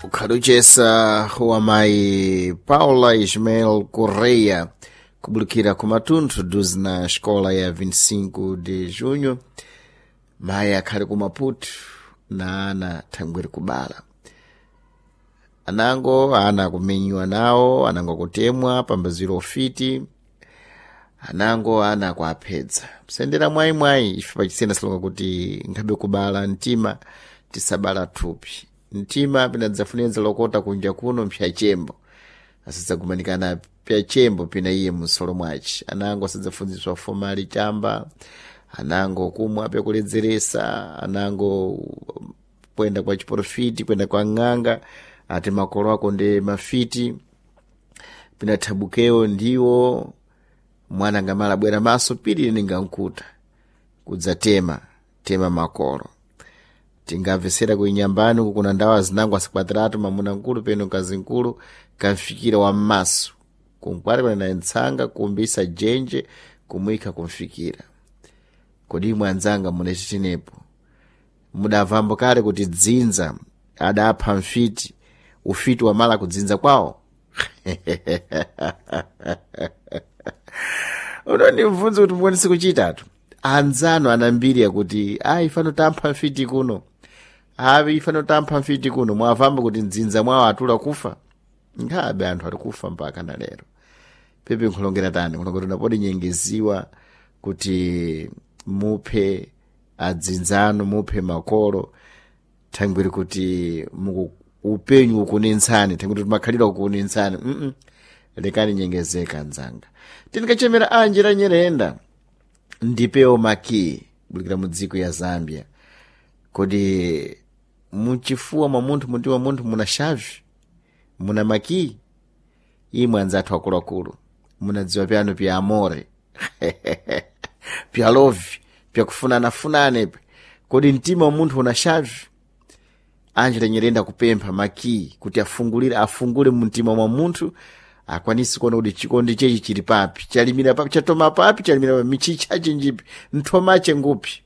Ukhaluchesa wa mayi Paula Ismael Correia kubulukira ku Matunthu duzi na xikola ya 25 de Junho. Mayi akhali ku Maputo na ana thangwiri kubala. Anango ana kumenyiwa nawo, anango kutemwa pambaziro ofiti, anango ana kuaphedza. Msendera mwayimwayi ife pachisena silonga kuti nkhabe kubala mtima tisabala thupi. Mtima pinadzafunenza lokota kunja kuno mphyachembo. Asadzagumanikana pyachembo pina iye msolo mwaci. Anango asadzafunziswa fomali chamba, anango kumwa pyakuledzeresa, anango kwenda kwa chiporofiti, kwenda kwa ng'anga, ati makolo ako ndi mafiti, pinathabukewo ndiwo mwana ngamala bwera maso pili ningankuta kudzatema tema makolo. Tingamvesera kuinyambani uku kuna ndawa zinango asikwatiratu mamuna nkulu peno mkazi nkulu kamfikira wa mmaso kunkwati panena ntsanga kumbisa jenje kumwikha kumfikira. Kodi imwe anzanga munachitenepo mudavambo kale kuti dzinza adapha mfiti ufiti wamala kudzinza kwawo? Unondibvunza kuti mukwanise kuchitatu. Anzano anambiri akuti ayi fano tampha mfiti kuno, ayi fano tampha mfiti kuno. Mwavamba kuti mdzinza mwawo atula kufa? Nkhabe anthu ari kufa mpaka na lero. Pepe nkhulongera tani nkhulongera unapodi nyengeziwa kuti muphe adzinzano, muphe makolo, thangwiri kuti muku upenyu ukunentsani, thangwiri kuti makhalidwe akukunentsani. Lekani nyengezeka anzanga. Tinikachemera Angela Nyirenda ndipewo maki bulikira mu dziko ya Zambia. Kodi muchifuwa mwa munthu, mumtima munthu muna shavi, muna maki? Imwe anzathu akuluakulu munadziwa pyanu pya amore pya lovi pyakufunanafunane. Kodi mtima wa munthu una shavi? Angela Nyirenda kupempha maki kuti afungulire, afungule mumtima mwa munthu akwanisi kuona kuti chikondi chechi chili papi, chalimira papi, chatoma papi, chalimira papi, michicha chinjipi, nthomache ngupi.